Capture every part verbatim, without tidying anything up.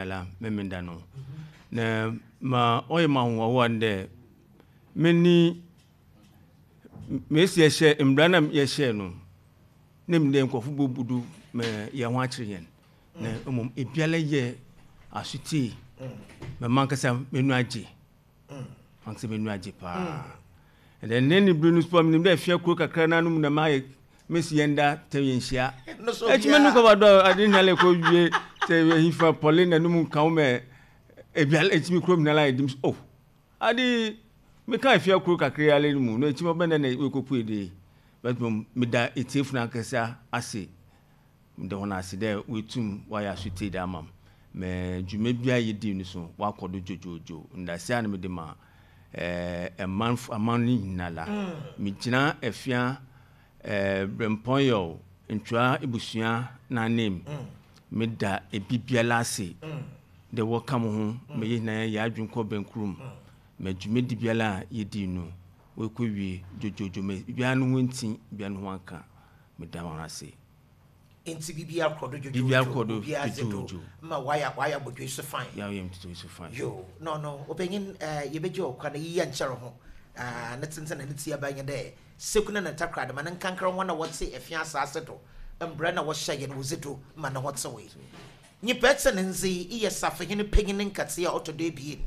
Ala Memenda no. Na ma ɔyɛ ma ahohoahoa no dɛ menni mesi yɛhyɛ mbra na yɛhyɛ no na nim dɛ nkurɔfo bɛbu do ma yɛn ho akyerɛ yɛn, na mmom ebiara yɛ asotie ma mankasa m'ani agye, mankasa m'ani agye paa. Ɛdɛ ne ne bere no so menim dɛ afia kuro kakra no anom na mayɛ mesi yɛn da tɛ yɛn hyia ɛkyima no kɔba dɔ ade nyale kɔ wie sɛ yɛhifa pɔle na num nka wo mɛ ebiara ɛkyimi kurom nyala yɛ dim so, oh, ade meka afia kuro kakra yi ale no mu na ɛkyimi ɔbɛn dɛ na wɔkɔpue de, but meda etiefo no ankasa ase, meda wɔn ase dɛ wɔatum wɔayɛ asotie de ama m mɛ dwuma bi a yɛdi no so wakɔ do dwodwodwo. Ndase a na mede ma ɛɛ ɛman aman no nyinaa la, megyina Afia ɛɛ Brɛmpɔnyɛw Ntwa ebusua n'anim, meda ebi biara ase dɛ wɔka mo ho ma yɛn nyinaa yɛ adwene kɔ bɛnkurom ma dwumadi biara a yɛdi no wɔkɔ wie dwodwodwo ma biara no ho nti biara no ho anka. Meda wɔn ase. Nti biribiara kɔ do dwodwodwo? Biribiara kɔ do. Obiara dze do dwodwodwo. Ma wayɛ wayɛ abɔdwe so fine. Yɛayɛ ntoto so fine. Yo, no no ɔpanyin, ɛɛ yɛbɛgye ɔkwa na yiyi nkyɛre ho ɛɛ ne tenten na ne ti aba nyɛ dɛ seku na ne ntakra de ma ne nkankra wɔn a wɔte Ɛfia asase do mbrɛ na wɔhyɛ yɛn wɔdzi do ma ne ho tewe. Nyimpa ɛte ne ndze yi yɛ safehene panyin nkɛtee a ɔtɔ do ebien,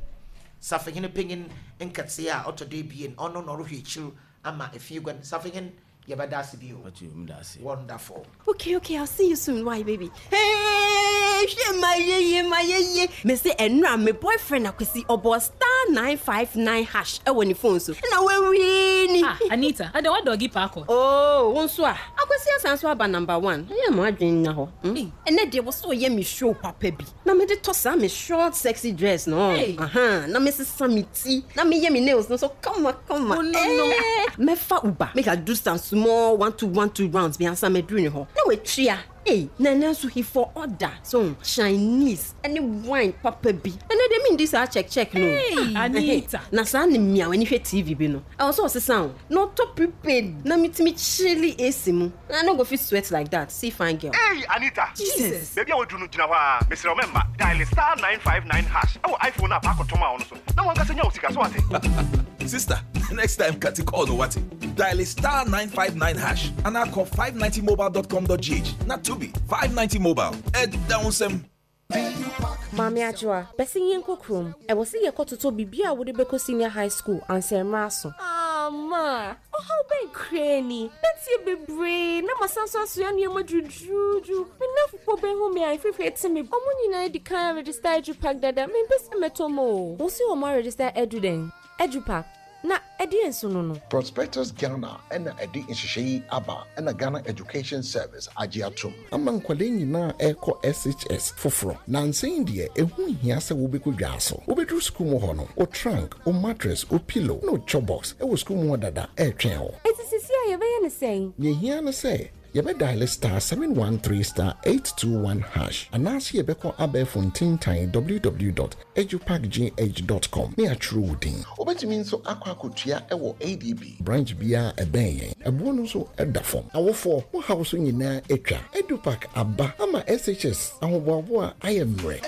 safehene panyin nkɛtee a ɔtɔ do ebien, ɔno na ɔrehwɛ ekyir ama efie guan. Safehene, yɛbɛda ase bio. Ɔtí meda ase. Wonderful. Okay, okay, I'll see you soon. Why, baby? Hey, hwɛ ma yeye ma yeye. Me se ɛnura me boyfriend Akwesi ɔbɔ star nine five nine hash ɛwɔ ne phone so. Ɛna wawie ni. Ah, Anita, ada wa doggy paako. Oh, wo nso a. Akwesi asan so aba number one. Ɛyɛ mo adwene nya hɔ. Hmm? Hey. Ɛnɛ deɛ wɔ so ɔyɛ me show papa bi. Na me de tɔ saa me short sexy dress no. Hey. Aha, na me sesa me ti. Na me yɛ me nails no so kama kama. Oh, no, no. Eh, mɛfa Uber. Make I do some small one two one two rounds bi ansa mɛduru ne hɔ. Na watua. Hey, na ɛnɛ nso he for order so Chinese ɛne wine papa bi. Ɛnɛ deɛ mendi saa check check no. Hey, Ah, Anita. Na saa ne mmea w'ani hwɛ T V bi no. Ɛwɔ sɛ ɔsesa o. Na ɔtɔ prepaid na metumi chilli A C mu. Na I no go fit sweat like that. See fine girl. Hey, Anita! Jesus. Baabi a waduru no, gyina hɔ a mesrɛ wo mɛmma dial star nine five nine hash ɛwɔ iPhone a paakɔtɔm a ɔno so na wankasa nya wo sika so ate. Sister, next time cut call no what? Dial star nine five nine hash and I call five ninety mobile dot com dot G H. Not to be five ninety mobile. Ed down some. Maame Adwoa, bɛsɛ yɛnkɔ kurom. Ɛwɔ sɛ yɛkɔtotɔ biribi a wode bɛkɔ senior high school ansa mmerɛ aso. Ama ɔhaw bɛn koraa ni? Bɛtie bebree na masan so asoa nneɛma duruduruduru. Me nnamfofoɔ bɛhu me a ɛfifiri te me. Ɔmo nyinaa di kan register EduPack dada. Mempɛ sɛ mɛtɔ ma o. Wo se ɔmo aregister edu dɛn? EduPack na ɛdeɛ nso no no Prospectus Ghana ɛna ɛde nhyehyɛ yi aba, ɛna Ghana Education Service agye atom ama nkwadaa nyinaa ɛrekɔ S H S foforɔ. Nansa yi deɛ, ɛho hia sɛ wobɛkɔ dwa so. Wobɛduru sukuu mu hɔ no, wo trunk, wo mattress, wo pillow na wo chop box ɛwɔ sukuu mu hɔ dada ɛretwɛn wo. Enti sisi a yɛbɛyɛ ne sɛn? Nea ehia ne sɛ yɛbɛdial star seven one three star eight two one hash anaasɛ yɛbɛkɔ abɛɛfo ntentan w w w dot edupackgh dot com ne atwerɛ wo din. Wobɛtumi nso akɔ akɔtua ɛwɔ A D B branch biara ɛbɛn yɛn. Ɛboɔ no nso ɛda fam. Awofoɔ, mo haw so nyinaa atwa. EduPack aba ama S H S ahoboaboa ayɛ mmerɛ.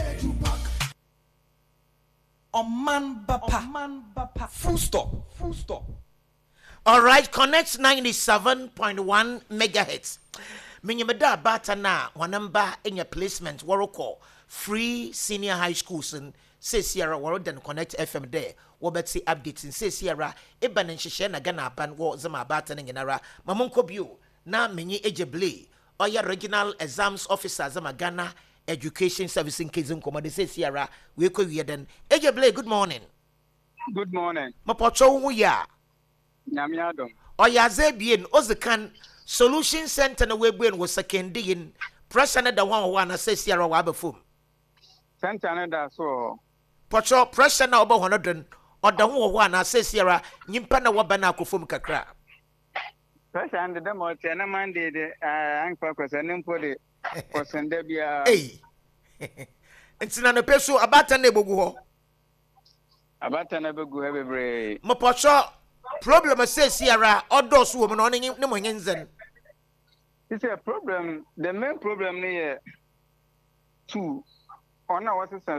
Ɔman Bapa. Full stop. Full stop. All right, Connect ninety-seven point one megahertz. Menyim da abata na hɔn mba anya placement wɔrekɔ free senior high schools n seesiara wɔreda no Connect F M dɛ wɔbɛte update n seesiara eba ne nhyehyɛ na Ghana aban wɔ dze ma abata no nyinara ma monkɔ bio na menye Egye Blay, ɔyɛ regional exams officer dze ma Ghana Education Service, nkedzi nkɔmmɔ de seesiara weekɔ wie dɛn. Egye Blay, good morning. Good morning. Mepɔtɔ wo ho yie a? Nyame adom. Ɔyɛ adze ebien. Odzi kan, solution center na woebue no wɔ Sekondi yi n pressure no da ho a wɔ hɔ ana seesiara wɔaba fam? Center no da so wɔ hɔ. Pɔtɔ pressure na ɔbɔ hɔ no do no, ɔda ho wɔ hɔ ana seesiara nyimpa na wɔba no akɔ fam kakra? Pressure no de dɛm ɔteɛ na Monday de ɛɛ ankpa kɔsɛ ne mpo de kɔsɛn da biara. Ei, nti na nopɛ so abaatan na ebogu hɔ? Abata no bɛgu ha bebree. Mepɔtɔ problem seesiara ɔdɔɔso wɔ mu na ɔne nye- ne mo nye ndzɛn? Sisɛ problem, the main problem no yɛ two. Ɔno a wɔsesa.